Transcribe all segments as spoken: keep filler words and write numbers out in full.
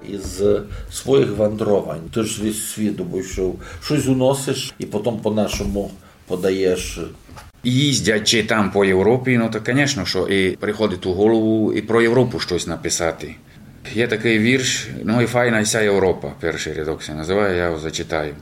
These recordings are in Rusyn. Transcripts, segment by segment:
Із своїх вандровань. Ты ж весь світ обійшов. Штось уносиш і потім по-нашому подаєш. Їздячи там по Європі, ну, то, конечно, што і приходить у голову і про Європу штось написати. Є такый вірш: «Ну і файна ся Європа», першый рядок ся называє, я його зачитаю.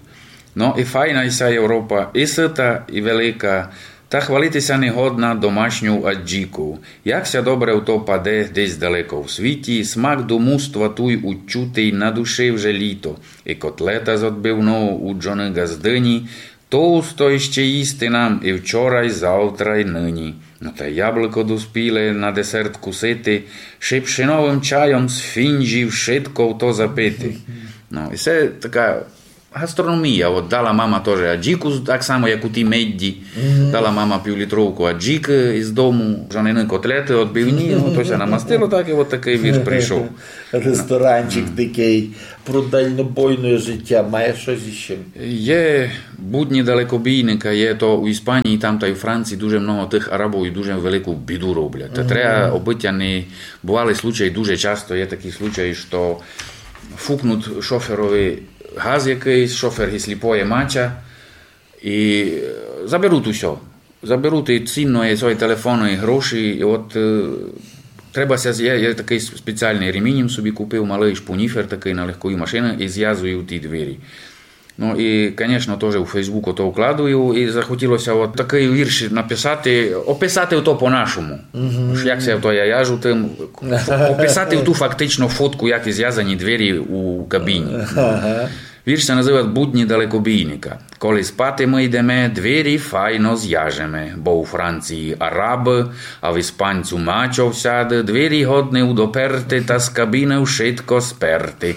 «Ну і файна ся Європа, і сыта, і велика, та хвалити ся не годна домашньов аджіков. Як ся добре в то паде десь далеко в світі, смак думуства туй учутий, на души вже літо, і котлета з отбивного у джоны ґаздыні, товсто іщи їсти нам і вчора, й завтра, й нині. Ну та яблыко доспіле на десерт кусити, ши пшеновым чайом з фінджі вшытко в то запити». Ну, і се така гастрономія. От дала мама тоже аджіку, так само, як у тій медді. Дала мама півлітровку аджікы із дому, жанины котлеты отбивні, ну, то ся намастило так, і от такый вірш прийшов. Ресторанчик дикый. Про дальнобойне життя має штось іщи? Є будні далекобійника, є то у Іспанії, там та й у Франції дуже много тых Арабов і дуже велику біду роблять. Та треба, обы тя не бували случаї, дуже часто є такі случаї, што фукнуть шоферови газ якыйсь, шофер ги сліпоє мача, і, е, заберуть усьо. Заберуть і цінноє, і свої телефоны, і гроші, і от, е, треба ся, я, я такый спеціалный ремінь им собі купив, малый шпунїфер такый на легкої машины, і звязую ті двері. Ну і, конечно, тоже у Facebook ото вкладую, і захотіло ся от такый вірш написати, описати ото по-нашому. Ож як ся ото я яжу тым, описати ту фактично фотку, як і звязані двері у кабіні. Вірш ся называть «Будні далекобійника». Коли спати мы йдеме, двері файно звяжеме, бо у Франції арабы, а в іспанцю мачо всяды, двері годны удоперти, та з кабіны вшытко сперти.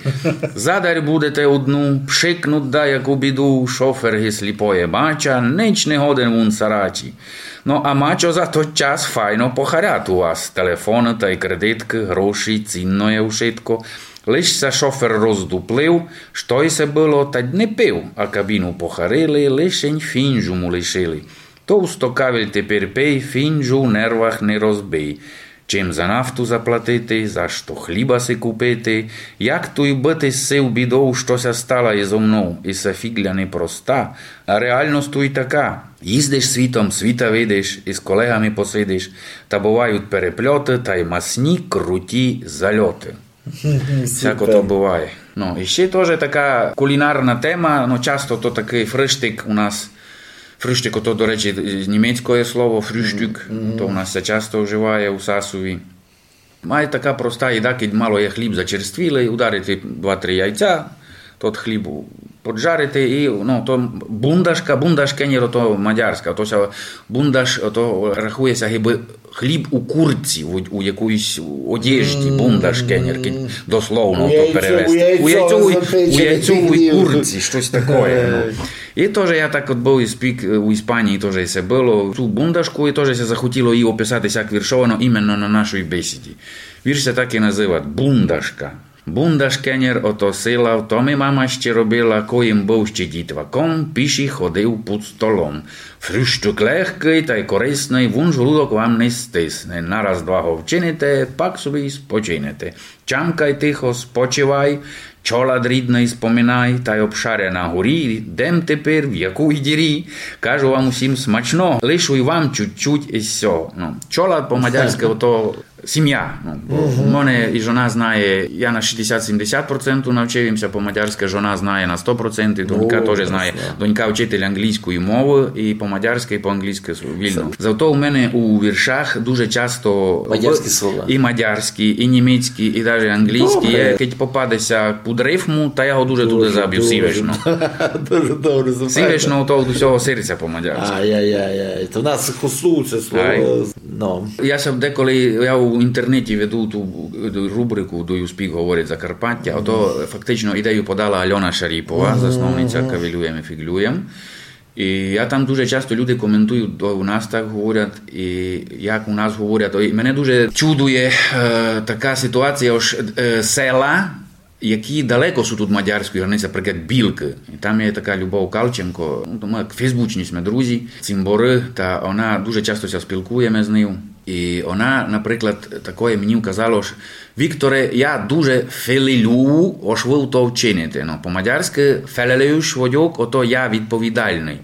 Задарь будете удну, пшикнуть даяку біду, шофер ги сліпоє мача, нич не годен вун сарачі. Ну, а мачо за тот час файно похарят у вас, телефоны тай кредиткы, гроші, цінноє вшытко. Лиш ся шофер роздуплив, што й се было, та й не пив, а кабіну похарили, лишень фінджу му лишили. Товсто кавель тепер пий, фінджу в нервах не розбий. Чим за нафту заплатити, за што хліба си купити, як туй быти з сив бідов, што ся стала і зо мнов, і се фіґля непроста, а реалность туй така. Їздиш світом, світа видиш, і з колеґами посидиш, та бывають переплёты, та й масні круті зальоты. Всяко то быває. Ну, і ще тоже така кулінарна тема, ну, часто то такый фрыштик у нас. Фрыштик, ото, до речі, німецькоє слово, фрюштюк, то у нас ся часто вживає у Сасові. Май така проста їда, кідь мало є хліб зачерствілый, ударити два-три яйця, тот хліб поджарити і, ну, то бундашка, бундашкенєр, ото мадярська, то ся бундаш, ото рахує ся гибы хліб у куртці, у, у якоїсь одежді, бундашкенєр, кідь дословно то перевести. У яйцьовій, у яйцьовій куртці, штось такоє, ну. І тоже я так от быв і спік, е, у Іспанії тоже се было. Ту бундашку, і тоже ся захотіло її описати сяк віршовано іменно на нашій бесіді. Вірш ся так і называть: «Бундашка». Бундашкенєр, ото сила, в то ми мама ще робила, коли м быв ще дітваком, піші ходив під столом. Фрюштюк легкый тай корисный, вун жолудок вам не стисне. Нараз-два го вчините, пак собі й спочинете. Чамкай тихо, спочивай, чолад рідный споминай, тай обшаря на горі, де м тепер, в якій дірі. Кажу вам усім смачно, лишу й вам чуть-чуть із сього. Ну, чолад по-мадярськы ото сім'я. Ну, бо в мене і жона знає, я на шістдесят-сімдесят процентів навчив им ся по-мадярськы, жона знає на сто процентів, донька тоже знає. Донька вчитель англійської мовы, і по-мадярськы, і по-англійськы вільно. Зато у мене у віршах дуже часто мадярські слова. І мадярські, і німецькі, і даже англійські. Добре. Є, кідь попаде ся під рифму, та я го дуже туды забю, сівешно. Дуже добре забрав. Сівешно, то від усього серця по-мадярськы. Ай-яй-яй. То в нас хостуються слова. Ай. Ну. Я ся деколи, я у інтернеті веду ту, ту рубрику «Do you speak, говорить Закарпаття», ото фактично ідею подала Альона Шаріпова, засновниця «Кавелюєм і фіґлюєм». І я там дуже часто люди коментують, то у нас так говорять, і як у нас говорять. І мене дуже чудує, е, така ситуація, ож, е, села, які далеко суть від мадярської границі, наприклад, Білкы. І там є така Любов Калченко, ну, то мы як фейсбучні сьме друзі, цімборы, та она дуже часто ся спілкуєме з нею. І она, наприклад, такоє мені вказала, ож Вікторе, я дуже фелелюю, ож вы то вчините. Но, по-мадярськы фелелюш водюк, ото я відповідальный.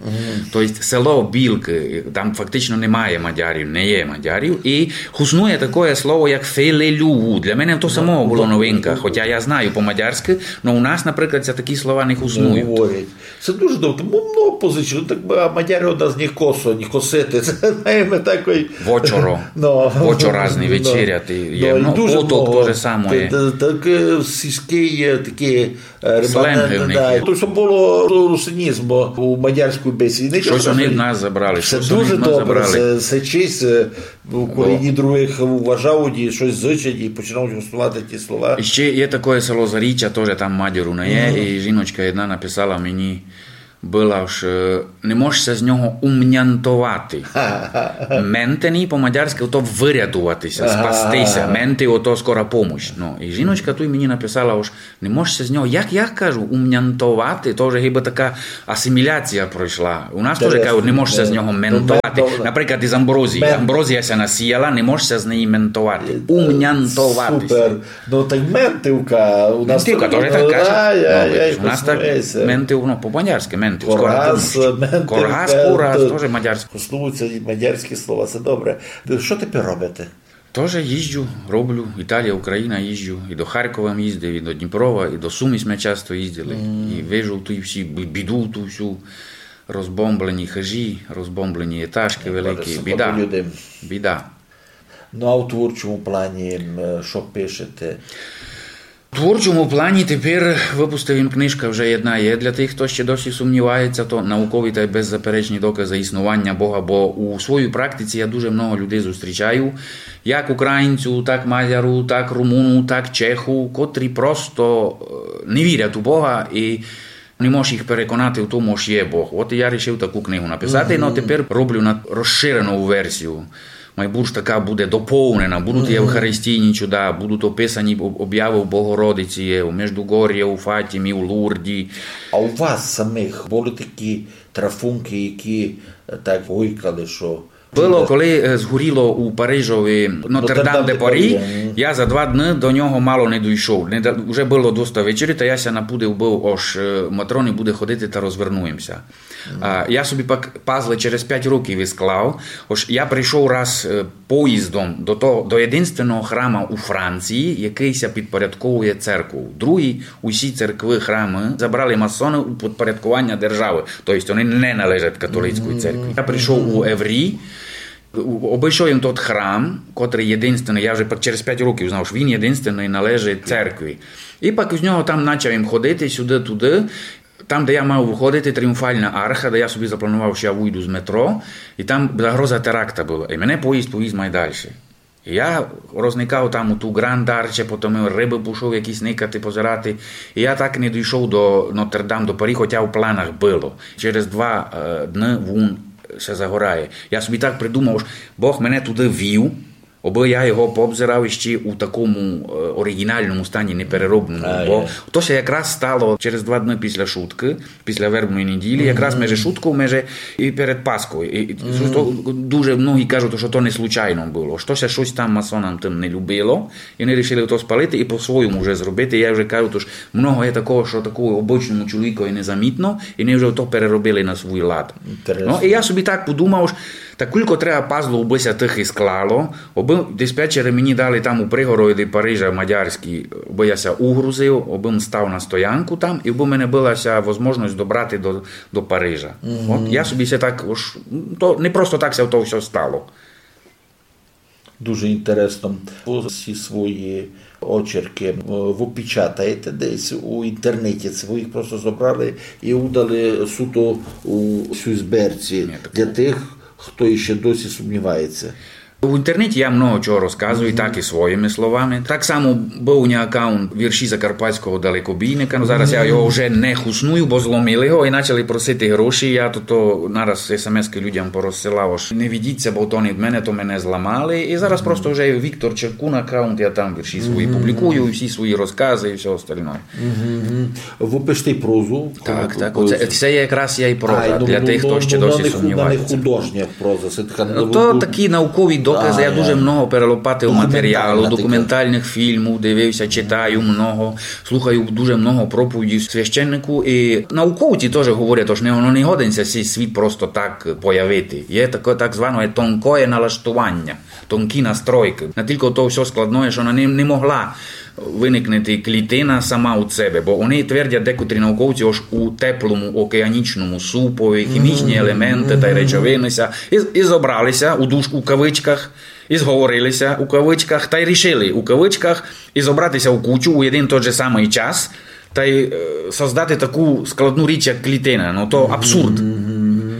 То єсть село Білкы, там фактично немає мадярів, не є мадярів. І хуснує такоє слово, як фелелюю. Для мене то самого было новинка, хотя я знаю по-мадярськы, но у нас, наприклад, ся такі слова не хуснують. Говорять. Се дуже добре. Бо много позичили, так а мадяры од нас не косо, не косити. Се знаєме такой. Вочоро. Но. Вочоразный вечеряти. Є, Но, і но, дуже поток много. То же самоє. Та- та- Так е, сільськый є такі е, Сленгы в них є. То, што было русинізм у мадярській бесіді. Штось они в нас забрали, Се штось они дуже в нас добре. Забрали. Се, се честь, е, коли одні другых уважають і штось зичать, і починають густувати ті слова. І ще є такоє село Заріччя, тоже там мадяру не є, і жіночка єдна написала мені, была, ож е, не мож ся з нього умнянтовати. Ментений по-мадярськы то вырятовати ся, спасти ся. Менти ото скора помощ. Ну, і жіночка туй мені написала, ож не мож ся з нього, як я кажу, умнянтовати, то вже гибы така асиміляція пройшла. У нас тоже кажуть, не мож ся з нього ментовати. Наприклад, із амброзії. Амброзія ся насіяла, не мож ся з неї ментовати. Умнянтовати ся. Супер. Ну, так ментивка. У нас Ментивка, тоже так кажуть. Ай, Ну, ай, видиш, у нас так космується. Ментив, ну, по-мадярськы ментив. Скоро Корас, помощ. ментив, Корас, ментив. курас, тоже мадярськы. Коснуються і мадярські слова, це добре. Що тепер робите? Тоже їжджу, роблю, Італія, Україна їжджу, і до Харкова їздив, і до Дніпрова, і до Сум сьме часто їздили, і вижу ту всі бі-, біду, ту всю, розбомблені хижі, розбомблені етажкы великі, біда. Біда. Ну, а у творчому плані, м, що пишете? У творчому плані тепер выпустив им книжка вже єдна є для тых, хто ще досі сумнівається, то наукові та беззаперечні доказы існування Бога, бо у своїй практиці я дуже много людей зустрічаю, як українцю, так мадяру, так румуну, так чеху, котрі просто е, не вірять у Бога і не можеш їх переконати в тому, що є Бог. От я рішив таку книгу написати, но тепер роблю на розширену версію. Май бурш така буде доповнена, будуть і евхаристійні чуда, будуть описані об- обяви в Богородиці, є, у Междугор'ї, у Фатімі, у Лурді. А у вас самих були такі трафунки, які е, так гойкали, що Было, коли е, згоріло у Парижови Нотр-Дам де Парі, мгм. Я за два дни до нього мало не дойшов. Не да- Уже было доста вечері, та я ся напудив быв, ож е, Матрони буде ходити та розвернуємся. А, я собі пак пазлы через пять років і склав. Ож я прийшов раз е, поїздом до того, до єдинственного храма у Франції, який ся підпорядковує церкву. Другі усі церкви, храмы забрали масоны у підпорядкування державы. То єсть вони не належать католицькій церкві. Я прийшов у Еврі, у- обійшов им тот храм, котрий єдинственный, я вже пак через пять років знав, що він єдинственный належить церкві. І пак з нього там почав им ходити сюды-туды. Там, де я мав выходити, Тріумфальна арха, де я собі запланував, що я выйду з метро, і там загроза теракта была. І мене поїзд повіз май дальше. І я розникав там у ту Гранд Арче, потім рыбы пішов якісь никати, позирати. І я так не дійшов до Нотр-Дам до Парі, хоча в планах было. Через два е, дни вун ся загорає. Я собі так придумав, ож Бог мене туды вів, Обы я його пообзирав іщи у такому е, оригінальному стані, непереробному. Бо то ся якраз стало через два дни після шуткы, після вербної неділі, якраз межи шутков, межи і перед Пасков. І, і то дуже многі кажуть, што то не случайно было, што ся штось там масонам тым не любило, і они рішили то спалити і по-своєму вже зробити. Я вже кажу, тож много є такого, што такому обычному чоловікові незамітно, і они вже то переробили на свій лад. Ну, і я собі так подумав, ож та кулько треба пазлов, обы ся тых і склало, обы диспетчери мені дали там у пригороді Парижа мадярські, обы я ся угрузив, обы м став на стоянку там, і обы в мене была ся возможность добрати до, до Парижа. От я собі ся так, ож, то не просто так ся то всьо стало. Дуже інтересно. Всі свої очерки е, вы печатаєте десь у інтернеті, це вы їх просто зобрали і удали суто у сюй зберці для тых, хто іщи досі сумнівається. У інтернеті я много чого розказую, так і своїми словами. Так само быв у мене акаунт «Вірші закарпатського далекобійника». Ну, зараз я його вже не хусную, бо зломили го і почали просити гроші. Я то, то нараз смс-ки людям порозсилав, ож не ведіть ся, бо то не від мене, то мене зламали. І зараз просто вже Віктор Черкун акаунт, я там вірші свої публікую, і всі свої розкази, і всьо остальне. Вы пишете і прозу? Так, так. Оце, це якраз є і проза для тых, хто ще досі сумнівається. Художня проза, це така... Ну, то такі наукові Доказы, я дуже много перелопатив матеріалу, документальных фільмів дивив ся, читаю много, слухаю дуже много проповідів священнику. І науковці тоже говорять, ож не, воно не годен ся сей світ просто так появити. Є таке так зване тонкоє налаштованя, тонкі настройкы. Натілько то всьо складноє, што она не, не могла выникнути клітина сама од себе, бо они твердять декотрі науковці, ож у теплому океанічному супові хімічні елементы тай речовины ся і, і зобрали ся у душ-, у кавычках, і зговорили ся у кавычках, тай рішили у кавычках і зобрати ся у кучу у єден тот же самый час, тай, е, создати таку складну річ, як клітина. Ну, то абсурд.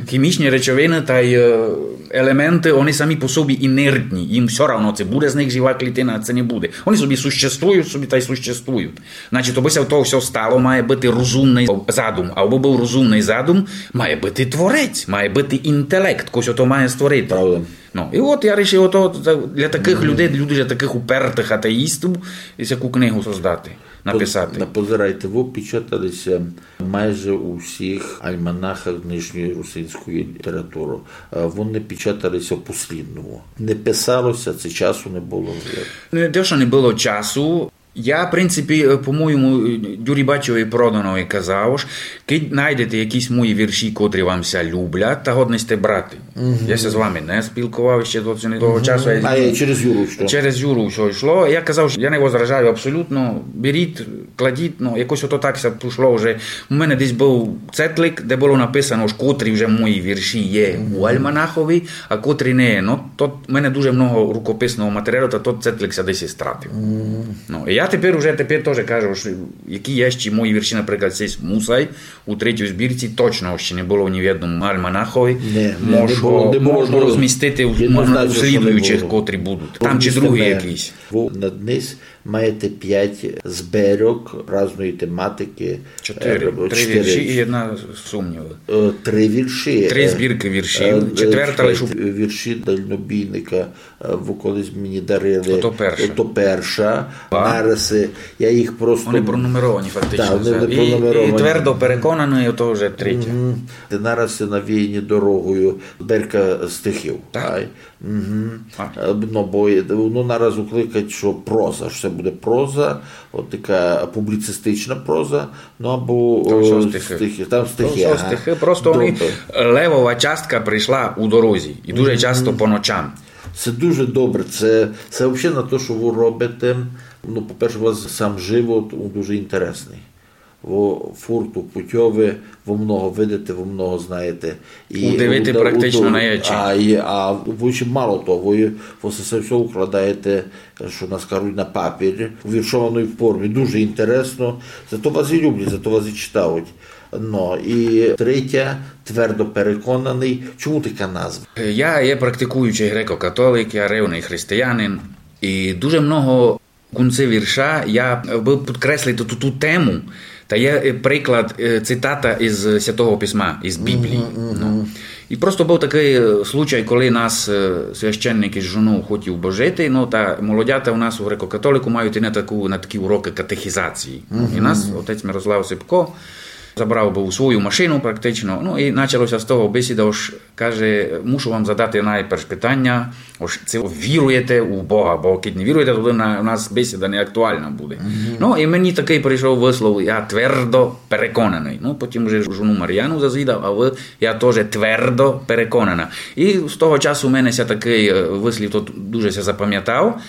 Хімічні речовины тай, е, елементы, они самі по собі інертні. Їм всьо равно, ци буде з них жива клітина, ци не буде. Они собі существують, собі тай существують. Значить, обы ся то всьо стало, має быти розумный задум. А обы быв розумный задум, має быти творець, має быти інтелект, хтось ото має створити. Правда. Ну, і от я рішив ото, та, для такых людей, для дуже такых упертых атеїстів, і сяку книгу создати, написати. Поз-, позирайте, вы печатали ся майже у всіх альманахах днешньої русинської літературы. Е, вони печатали ся по-слідному. Не писало ся, ци часу не было. Не те, што не было часу. Я, в принципі, е, по-моєму, е, Дюрібачови Проданови казав, ож кидь найдете якісь мої вірші, котрі вам ся люблять, та годні сьте брати. Я ся з вами не спілкував іщи до цього, того часу. А, е, через Юру йшло? Через Юру всьо йшло. Я казав, што я не возражаю абсолютно. Беріть, кладіть, ну, якось ото так ся пішло вже. У мене десь быв цетлик, де было написано, ож котрі вже мої вірші є у альманахови, а котрі не є. Ну, то в мене дуже много рукописного матеріалу, та тот цетлик ся десь і стратив. Ну, і я тепер уже, тепер тоже кажу, што які є ще мої вірші, наприклад, сей Мусай, у третій збірці точно ще не было ні в єдному альманахови. Не, не, не было, не было. Можу розмістити в, можна у слідуючих, котрі будуть. Там чи другі якісь. Вы на днесь маєте пять збірок разної тематикы. Чотири. Е, три вірші і одна сумнівы. Е, три вірші. Три, е, збіркы віршів. Е, четверта лише. Вірші дальнобійника, е, вы колись мені дарили. Ото перша. Ото перша. Нараз, е, я їх просто... Вони пронумеровані фактично. Так, вони пронумеровані. І, і твердо переконаный, ото вже третя. Нараз навіяні дорогою. Збірка стихів. Так. Е, ну, бо, е, ну, нараз укликать, што проза, што се буде проза, от така публіцистична проза, ну, або, там всьо стихы. Там всьо стихы, просто вони, левова частка прийшла у дорозі, і дуже часто по ночам. Се дуже добре, се, се вообще на то, што вы робите. Ну, по-перше, у вас сам живот, він дуже інтересный. Вы фурт у путьови, вы много видите, вы много знаєте. І удивити практично не є чим. А, і, а вы ще мало того, вы, вы се всьо укладаєте, што у нас кажуть, на папір, у віршованій формі. Дуже інтересно. Зато вас і люблять, зато вас і читають. Ну, і третя, твердо переконаный. Чому така назва? Я є практикуючый греко-католик, я ревный християнин. І дуже много в кінці вірша я бы підкреслив ту, ту, ту тему, та є, е, приклад, е, цитата із Святого Письма, із Біблії. Ну. І просто быв такый, е, случай, коли нас, е, священник із жонов хотів божити, ну, та молодята у нас у греко-католику мають і на таку, на такі урокы катехізації. І нас отець Мирослав Сипко забрав быв у свою машину практично, ну, і начало ся з того бесіда, ож Каже: «Мушу вам задати найперш питаня, ож ци віруєте у Бога, бо кидь не віруєте, то на, у нас бесіда не актуална буде». Ну, і мені такый прийшов выслов: «Я твердо переконаный». Ну, потім уже жону Маріану зазвідав, а вы: «Я тоже твердо переконана». І з того часу у мене ся такый, е, выслів, то дуже ся запамятав.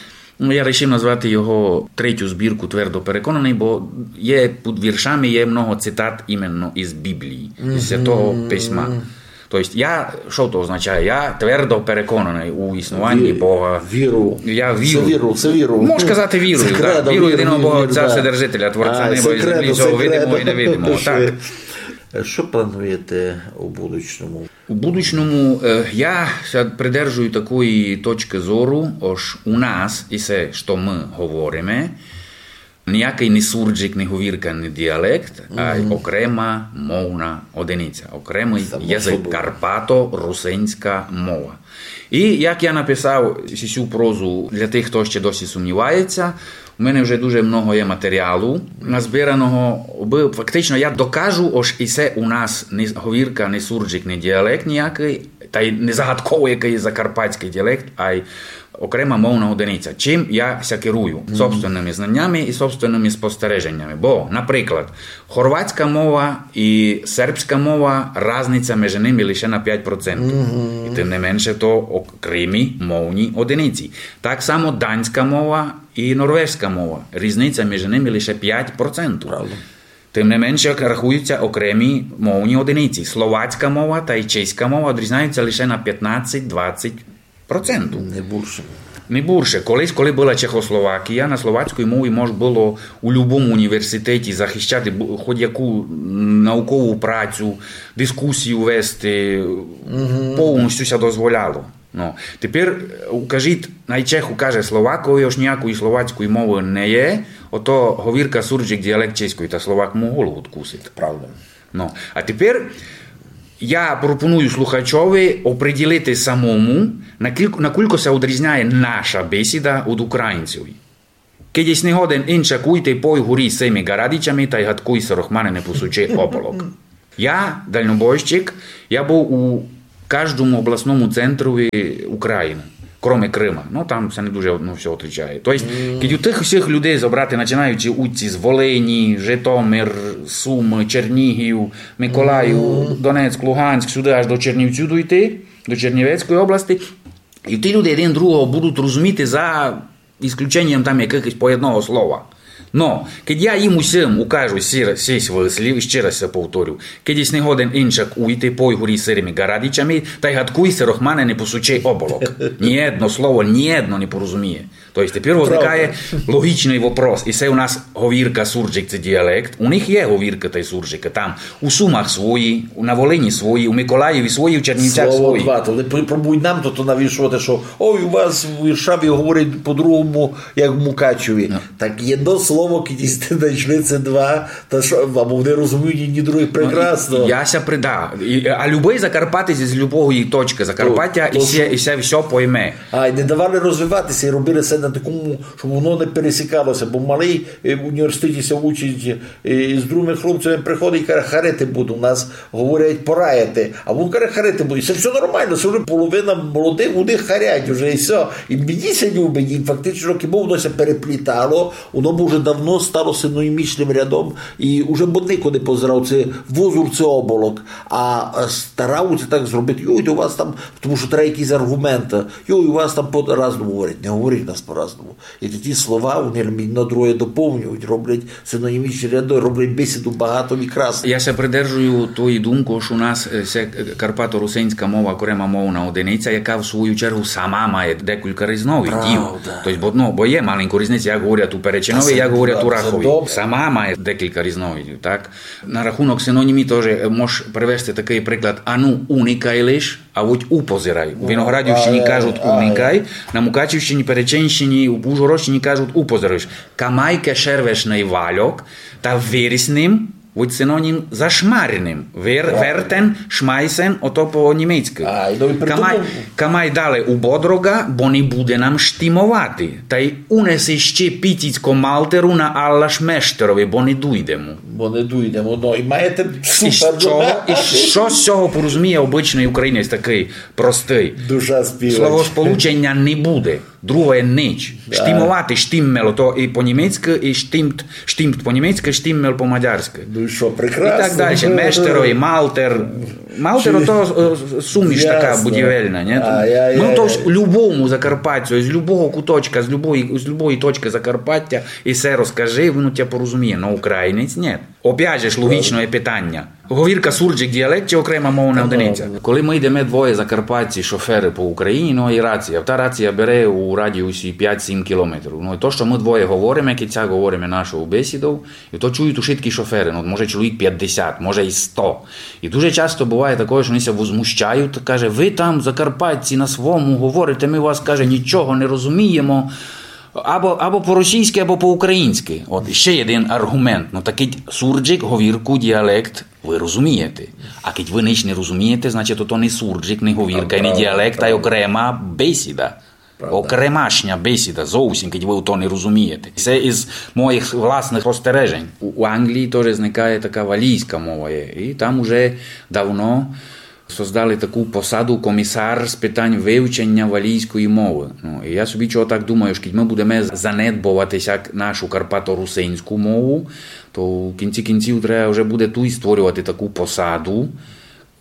Ну, я рішив назвати його третю збірку «Твердо переконаный», бо є під віршами, є много цитат іменно із Біблії, із Святого Письма. Тобто я, што то означає? Я твердо переконаный у існуванні Бога. Віру. Я вірю. Се віру, се віру. Можеш казати віру, так. Віру єдиного Бога, Отця Вседержителя, Творця неба і землі, всього видимого і невидимого. Так. Што плануєте у будучому? У будучому, е, я ся придержую такої точкы зору, ож у нас і се, што мы говориме, ниякый не суржик, не говірка, не діалект, а окрема мовна одиниця, окремый язык, карпато-русинська мова. І як я написав сю прозу для тых, хто ще досі сумнівається, у мене вже дуже много є матеріалу назбираного, бо фактично я докажу, ож і се у нас не говірка, не суржик, не діалект ниякый, Тай не загадково, якый є закарпатськый діалект, ай окрема мовна одиниця. Чим я ся керую? Собственными знанями і собственными спостереженями. Бо, наприклад, хорватська мова і сербська мова, разниця межи ними лише на пять процентів. І тым не менше то окремі мовні одиниці. Так само данська мова і норвежська мова. Різниця межи ними лише пять процентів. Правда. Тым не менше рахуються окремі мовні одиниці. Словацька мова тай чеська мова одрізняються лише на пятнадцять-двадцять процентів. Не бурше. Не бурше. Колись, коли была Чехословакія, на словацькій мові мож было у любому університеті захищати бу-, хоть яку наукову працю, дискусію вести, повністю ся дозволяло. Ну, тепер, е, укажіть, най Чех укаже Словакові, ож ніякої словацької мови не є, ото говірка суржик діалект чеської, та Словак му голову откусить. Правда. Ну, а тепер я пропоную слухачови оприділити самому, накілько, накілько ся одрізняє наша бесіда од українців. Кидь єсь не годен иншак уйти, пой горі сими ґарадичами, тай гадкуй ся, рохмане, не посучи оболок. Я, дальнобойщик, я быв у каждому обласному центрові Україны, кроме Крыма. Ну, там ся не дуже, ну, всьо отличає. То єсть, кидь у тых усіх людей зобрати, начинаючи уйти з Волині, Житомир, Сумы, Чернігів, Миколаїв, Донецьк, Луганськ, сюды аж до Чернівців дойти, до Чернівецької области, і ті люди один другого будуть розуміти за исключенням там якыхось по одного слова. Но, кидь я їм усім укажу сі-, сісь выслів, і ще раз ся повторю, кидь єсь не годен иншак уйти, пой горі сирими ґарадичами, тай гадкуй ся, рохмане, не посучи оболок. Ні одно слово, ні одно не порозуміє. То єсть, тепер возникає логічный вопрос. І се у нас говірка суржик, се діалект. У них є говірка тай суржика. Там у Сумах свої, у, на Волині свої, у Миколаєві свої, у Чернівцях свої. Слово два. То не пр-, пробуй нам то, то навішувати, што ой, у вас в Іршаві говорять по-другому, як в Мукачеві. Так єдно слово, кидь сьте знайшли, се два, та што, або вони розуміють єдні других прекрасно. Ну, і, я ся при-, да. І, а любый закарпатець з любої точкы Закарпаття, то, то і ся, і ся всьо пойме. А, і не давали розвивати ся, і робили ся на такому, щоб воно не пересікало ся, бо малый, е, в університеті ся учить, е, з другыми хлопцями приходить і каже: «Харити буду, у нас говорять пораяти». А вун каже: «Харити буду». І се всьо нормално, се вже половина молодых у них харять уже, і всьо. І мені ся любить, і фактично, кибы воно ся переплітало, воно б уже давно стало синонімічным рядом, і уже б нико не позирав, се возур, се оболок. А, а старавуть ся так зробити: «Йой, у вас там», тому што треба якісь арґументы. «Йой, у вас там по-разному говорять». Не говорять у нас по-разному. І тоді слова, вони єдно другоє доповнюють, роблять синонімічні ряды, роблять бесіду багату і красну. Я ся придержую тої думки, што у нас, е, ся, е, карпато-русинська мова, окрема мовна одиниця, яка в свою чергу сама має декілька різновидів. Правда. Тобто, бо, ну, бо є маленька різниця, як говорять у Перечинові, як говорять у Рахові. Сама має декілька різновидів, так? На рахунок синонімів тоже, е, мож привести такый приклад: «Ану, уникай лиш», а вуть «упозирай». У Виноградівщині кажуть «уникай», на Мукачівщині, Перечинщині, у Ужгородщині кажуть «упозирай». Камай кешервешный вальок, та виріс ним, вуть синонім за шмареним. Вер-, вертен, шмайсен, ото по-німецькы. Камай, камай дале у Бодрога, бо не буде нам штимовати. Тай унеси ще піціцько малтеру на алаш мештерови, бо не дуйдемо. Бо не дуйдемо, но, і маєте супер. І што, і што з сього порозуміє обычный українець такый простый? Душа співач. Словосполученя не буде. Другоє нич. Да. Штимовати, штиммел, то і по-німецькы, і штимт, штимт по-німецькы, штиммел по-мадярськы. Ну і што, прекрасно. І так дальше. Мештеро і малтер. Малтер, то, е, суміш така будівельна, ні? А, я, я, ну, то ж любому закарпатцю, з любого куточка, з любої, з любої точкы Закарпаття, і се розкажи, він у тя порозуміє, но українець ні. Опять же ж, логічне питання. Говірка суржик діалект чи окрема мовна одиниця? Коли мы йдеме двоє закарпатці шоферы по Україні, ну, і рація. Та рація бере у радіусі пять-сім кілометрів. Ну, і то, што мы двоє говориме, кидь ся говориме нашою бесідою, і то чують ушыткі шоферы. Ну, може, чоловік пятдесят, може, і сто. І дуже часто буває такоє, што они ся возмущають, каже: «Вы там, закарпатці, на свому говорите, мы вас, каже, нічого не розуміємо». Або, або по-російськы, або по-українськы. От, ще єден арґумент. Ну, такый суржик, говірку, діалект, вы розумієте. А кидь вы нич не розумієте, значить, то, то не суржик, не говірка, і не діалект, а й окрема бесіда. Правда. Окремашня бесіда, зовсім, кидь вы то не розумієте. Се із моїх власных спостережень. У, у Англії тоже зникає така валійська мова є. І там уже давно создали таку посаду: комисар з питань вывченя валійської мовы. Ну, і я собі чого так думаю, што кідь мы будеме занедбовати сяк нашу карпаторусинську мову, то в кінці кінців треба вже буде туй створювати таку посаду: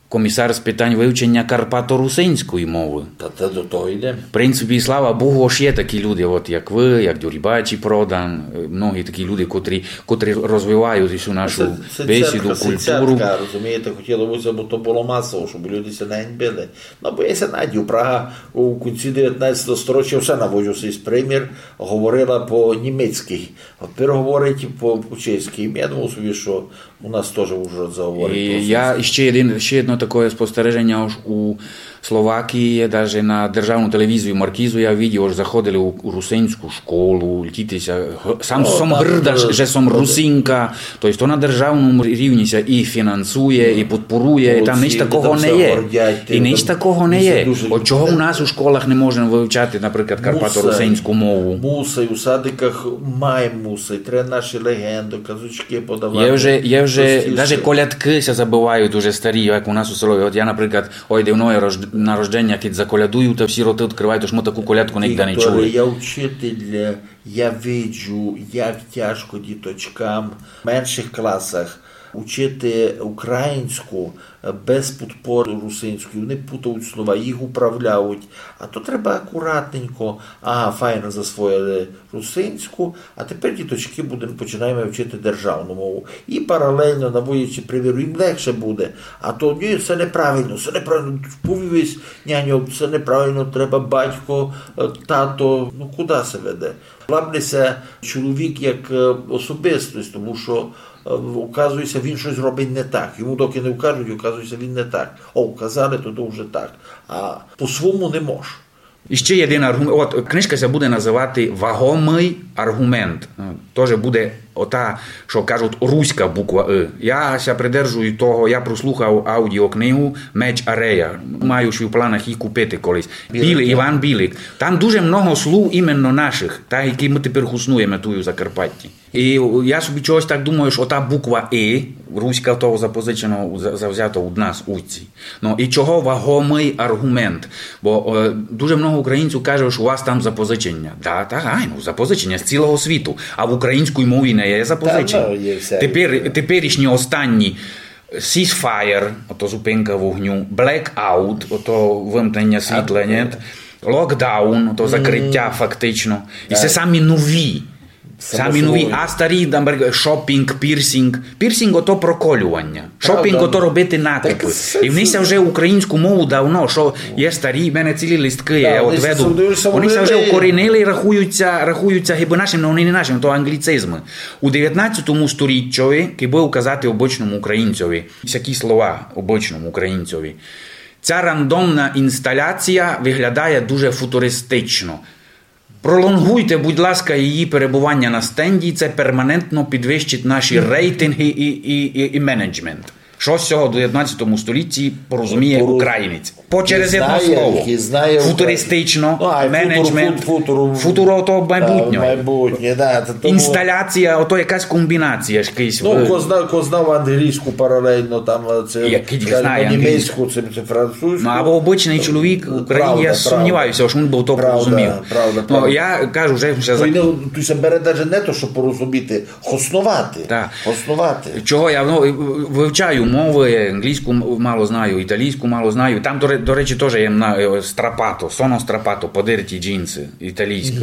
комисар з питань вывченя карпаторусинської мовы. Та те до того йде. В принципі, слава Богу, ож є такі люди, от як вы, як Дюрібачі Продан, е, многі такі люди, котрі, котрі розвивають усю нашу бесіду, культуру. Сидсятка, розумієте, хотіло бы ся, бо то было масово, щоб люди ся не ганьбили. Ну, бо я ся надію, Прага у кінці девятнадцятого сторічя, все наводжу сей примір, говорила по-німецькы. А тепер говорить по, по-чеськы. Я думав собі, што у нас тоже Ужгород заговорить по-русинськы. І я ще єдин, ще єдно такоє спостереженя, ож у Словакії є, даже на державну телевізію Маркізу я видів, ож заходили у, у русинську школу, летіти ся, г-, сам сом грда, же, же сом Русинка. То єсть то на державному рівні ся і фінансує, і подпорує, і там ніч такого не є. І ніч такого не є. От чого у нас у школах не можеме вывчати, наприклад, карпаторусинську мову? Мусай, у садиках май мусай, треба наші леґенды, казочкы подавати. Є вже, є вже, даже колядкы ся забывають уже старі, як у нас у селі. От я, наприклад, ой, де в моє рож-, на рожденя, кідь заколядую, та всі роты відкрывають, ож мы таку колядку нігде не чули. Вікторе, я учитель, я виджу, як тяжко діточкам в меншых класах учити українську, е, без подпоры русинської. Вони путають слова, їх управляють. А то треба акуратненько. Ага, файно засвоїли русинську, а тепер, діточкы, будеме, починаєме вчити державну мову. І паралельно, наводячи примір, їм легше буде. А то: ні, се неправильно, се неправильно. Повів єсь, няньо, се неправильно, треба батько, е, тато. Ну, куды се веде? Ламне ся чоловік як, е, особистість, тому што, е, указує ся, він штось робить не так. Йому доки не укажуть, указує ся, він не так. О, указали, то, то вже так. А по-свому не мож. І ще єдин арґумент. От книжка ся буде называти «Вагомый арґумент». Е, тоже буде ота, што кажуть, руська буква «ы». Я ся придержую того, я прослухав аудіокнигу «Меч Арея». Маю ще в планах її купити колись. Білик, Іван Білик. Там дуже много слув іменно нашых, так, які мы тепер хуснуєме туй у Закарпатті. І я собі чогось так думаю, што ота буква «ы», руська, того запозичено, за-, завзято од нас, уйці. Ну, і чого вагомый арґумент? Бо, е, дуже много українців каже, што у вас там запозиченя. Да, так, айно, запозиченя з цілого світу. А в українській мові не є запозиченя. Тепер, теперішні останні ceasefire, ото зупинка вогню, blackout, ото вимкнення світла, ні? Lockdown, ото закриття фактично. І се самі нові. Самі нові, а старі, там, наприклад, шопінґ, пірсінґ. Пірсінґ — ото проколювання. Шопінґ — ото робити накупы. І вони ся вже українську мову давно, што є старі, в мене цілі листкы є, я от веду. Вони ся вже укорінили і рахуються, рахуються гибы нашим, но вони не нашим, то англіцизмы. У девятнадцятому сторіччі, кибы указати обычному українцьови, всякі слова обычному українцьови, ця рандомна інсталяція виглядає дуже футуристично. Пролонгуйте, будь ласка, її перебування на стенді, це перманентно підвищить наші рейтинги і, і, і, і менеджмент. Што з сього в девятнадцятому столітті порозуміє українець? По через єдно слово. Футуристично, менеджмент, футуро — то майбутнє. Інсталяція — ото якась комбінація, якийсь. Ну, ко зна-, ко знав англійську паралельно, там, е, це, скажімо, німецьку, це, це французьку. Ну, або обычный чоловік в Україні, я сумніваюся, што він бы то порозумів. Ну, я кажу, вже, вже за- Туй ся бере даже не то, щоб порозуміти, хосновати. Так. Хосновати. Чого я, ну, вивчаю мовы, англійську м-, мало знаю, італійську мало знаю. Там, до ре-, до речі, тоже є на, е, страпато, sono strapato, подерті джинси, італійське.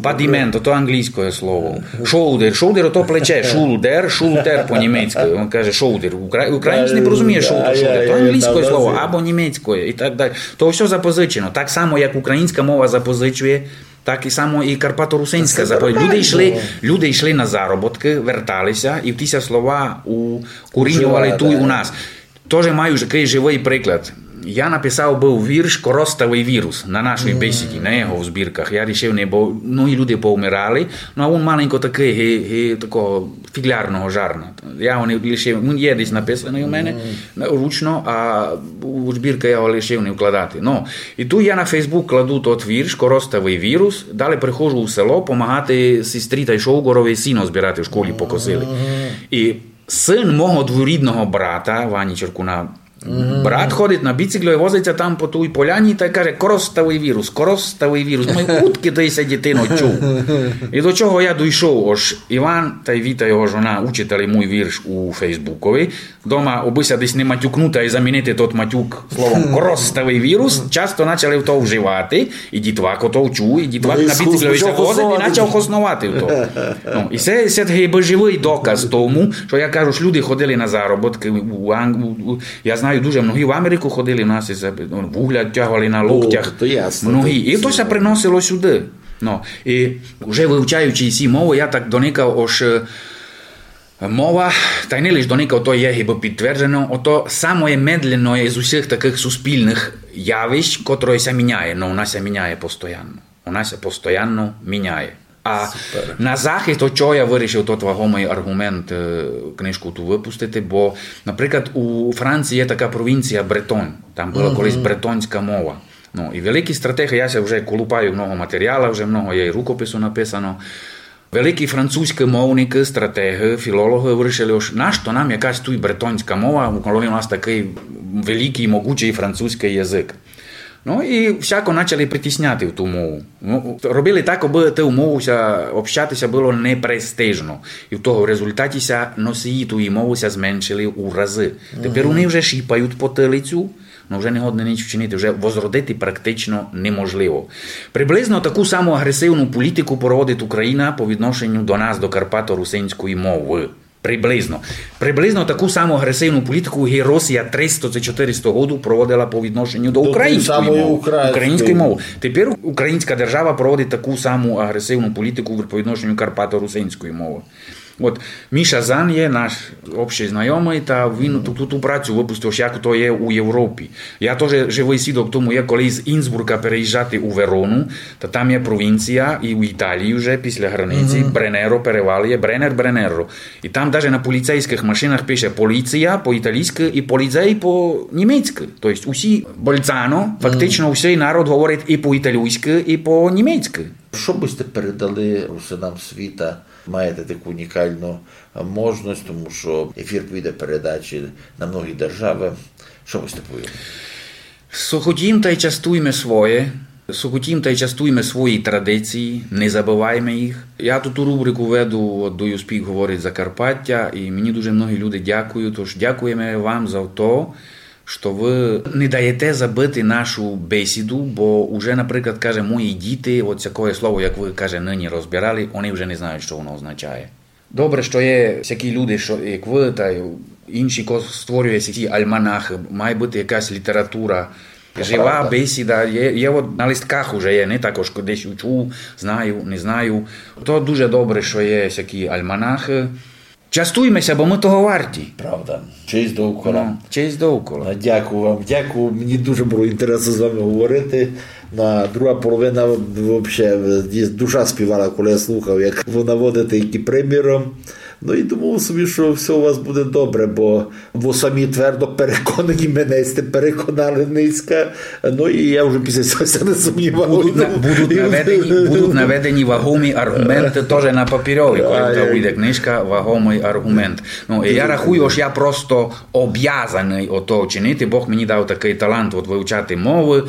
Падіменто — то англійське слово. Шолдер, шолдер — ото плече, шулдер, шултер по-німецькы. Він каже шолдер. Укра-, українець не порозуміє шолдер, шолдер. То англійське слово або німецьке і так далі. То всьо запозичено. Так само, як українська мова запозичує, так і само і карпаторусинська запов-. Люди йшли, люди йшли на заробіткы, вертали ся, і ті ся слова укорінювали туй у нас. Тоже маю такый живый приклад. Я написав быв вірш «Коростовый вірус» на нашій бесіді, на його в збірках. Я рішив не, бо многі люди повмирали, ну, а він маленько такый, ги, ги, такого фіґлярного жарна. Я го не лишив, він є десь написаный у мене, на-, ручно, а у збіркы я го лишив не вкладати. Ну, і туй я на Facebook кладу тот вірш «Коростовый вірус», далі приходжу у село помагати сестрі тай шовґорови сіно збирати, в школі покосили. І сын мого дворідного брата, Вані Черкуна, Брат ходить на біциклю і возить ся там по тій поляні тай каже: «Коростовый вірус, коростовый вірус». Думаю, удкы ты ся, дитино, чув? І до чого я дойшов? Ож Іван тай Віта, його жона, учитали мій вірш у Фейсбукови. Дома, обы ся десь не матюкнути, а й замінити тот матюк словом «коростовый вірус», часто начали то вживати, і дітвак ото вчув, і дітвак на біциклі ся возить, і почав хосновати то. Ну, і се, се такый бы живый доказ тому, што я кажу, што люди ходили на заробіткы у Анг-, у, у, я знаю, дуже многі в Америку ходили, у нас і се, ну, вугля тягали на локтях. То ясно, многі. І то ся приносило сюды. Ну, і вже вивчаючи сі мовы, я так доникав, ож, е, мова, тай не лиш доникав, то є гибы підтверджено, ото самоє медленноє з усіх такых суспільных явищ, котроє ся міняє, но вона ся міняє постоянно. Вона ся постоянно міняє. А на захист, от чого я вирішив тот вагомый арґумент, е, книжку ту выпустити, бо, наприклад, у Франції є така провінція Бретонь, там была колись бретонська мова. Ну, і великі стратеги, я ся вже колупаю много матеріала, вже много є і рукопису написано. Великі французькі мовникы, стратеги, філологи вирішили, ож нашто нам якась туй бретонська мова, коли у нас такый великый, могучый французькый язык. Ну, і всяко начали притісняти в ту мову. Ну, робили так, абы ту мову ся, общати ся было непрестижно. І в того результаті ся носії тої мовы ся зменшили у разы. Тепер вони вже шіпають потилицю, но вже не годні нич вчинити, вже возродити практично неможливо. Приблизно таку саму агресивну політику проводить Україна по відношенню до нас, до карпаторусинської мовы. Приблизно. Приблизно таку саму агресивну політику ги Росія триста ци чотириста году проводила по відношенню до української мовы. Української мовы. Тепер українська держава проводить таку саму агресивну політику по відношенню карпаторусинської мовы. От Міша Зан є наш общый знайомый, та він ту, ту, ту працю выпустив, як то є у Європі. Я тоже живый свідок тому є, коли з Інсбурга переїжджати у Верону, та там є провінція, і у Італії вже після границі, Бренеро перевал є, Бренер, Бренеро. І там даже на поліцейськых машинах пише «поліція» по-італійськы і «поліцей» по-німецькы. То єсть усі Больцано, фактично усій народ говорить і по-італійськы, і по-німецькы. Што бы сьте передали русинам світа? Маєте таку унікалну можность, тому што ефір піде передачі на многі державы. Што бы сьте повіли? Сохотім тай частуйме своє, сохотім тай частуйме свої традиції, не забывайме їх. Я ту, ту рубрику веду, от «Do You Speak», говорить Закарпаття, і мені дуже многі люди дякують, тож дякуєме вам за то, што вы не даєте забыти нашу бесіду, бо уже, наприклад, каже, мої діти, от сякоє слово, як вы, каже, нині розбирали, они вже не знають, што воно означає. Добре, што є всякі люди, што, як вы, та й інші, ко створює всякі альманахы, має быти якась література. Жива бесіда є, є от на листках уже є, не так, ож десь учув, знаю, не знаю. То дуже добре, што є всякі альманахы. Частуйме ся, бо мы того варті. Правда. Честь довкола. Ну, честь довкола. Ну, дякую вам, дякую. Мені дуже было інтересно з вами говорити. На друга половина вообще, е, душа співала, коли я слухав, як вы наводите які приміры. Ну і думав собі, што всьо у вас буде добре, бо вы самі твердо переконані, мене сьте переконали нынька. Ну і я вже після сього ся не сумнівав. Будуть на-, будуть наведені, будуть наведені вагомі арґументы тоже на папірьови, коли там выйде книжка «Вагомый арґумент». Ну, і я рахую, ож я просто обязаный ото чинити. Бог мені дав такый талант от вивчати мовы.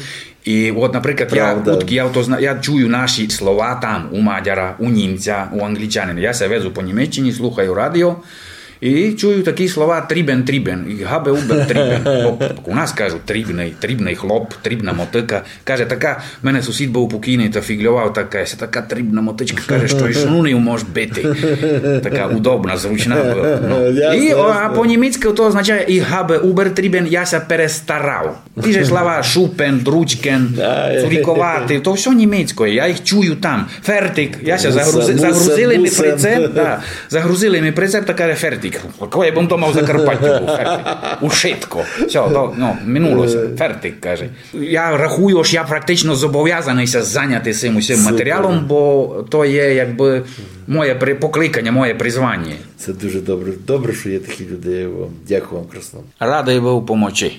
І от, наприклад, я, удкі я то зна-, я чую наші слова там у мадяра, у німця, у англічанина. Я ся везу по Німеччині, слухаю радіо, і чую такі слова «трібен, трібен», і «габе убер трібен». Бо у нас кажуть «трібный», «трібный хлоп», «трібна мотыка». Каже, така, в мене сусід быв покійный, та фіґльовав, така, ся така трібна мотычка, каже, што й шнунів мож бити. Така удобна, зручна была. Ну. І, о, а по-німецькы то означає «ich habe übertrieben», я ся перестарав. Ті же слова «шупен», «дручкен», «цуріковати», то всьо німецькоє, я їх чую там. «Фертик», я ся загрузи-, загрузили ми прицеп, да, загрузили ми прицеп, та каже «фертик». Кого я бым дома в Закарпаттю быв, «фертик». Ушитко. Всьо, то, ну, минуло ся. «Фертик», каже. Я рахую, ож я практично зобовязаный ся заняти сим усім матеріалом, бо то є якбы моє при-, покликаня, моє призваня. Се дуже добре. Добре, што є такі люди, як вы. Дякую вам красно. Радый быв помочи.